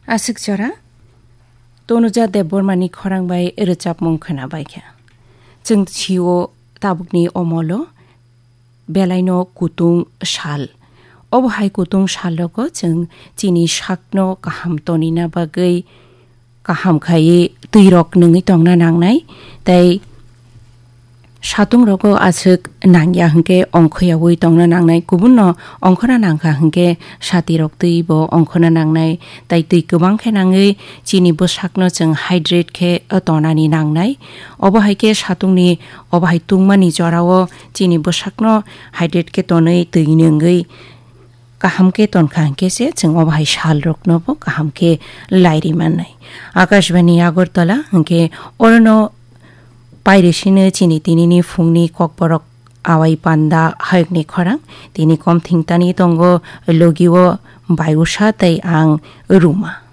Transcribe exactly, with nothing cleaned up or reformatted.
Aswk jora, Tonuja Debbarmani khorang bai rwchapmung khwna bai kha. Chwng sio tabukni omolo belaino kutung sal. Obo hai kutung sal rogo chwng chini sakno kaham tonina bagwi kaham khaiwi twirok nungwi tongna nangnai, tei satung rogo aswk nangya hwnkhe ongkhoyawi tongna nangnai, kubunno ongkhorna nangkha hwnkhe satirok twibo ongkhorna nangnai, tei twi kwbang khe nangwi chini bwsakno chwng hydrate khe tonani nangnai. Obo hai khe satungni, obo hai tungmani jorao chini bwsakno hydrate khe tonwi twi nungwi kaham khe tonkha hwnkhe se chwng obo hai sal rokno bo kaham khe lairi mannai. Akashbani Agartala hwnkhe orono pairisino chini tinini phungni kokborok awai panda hayokni khorang tini kom thingtani tongo logio Bayusa tei ang Ruma.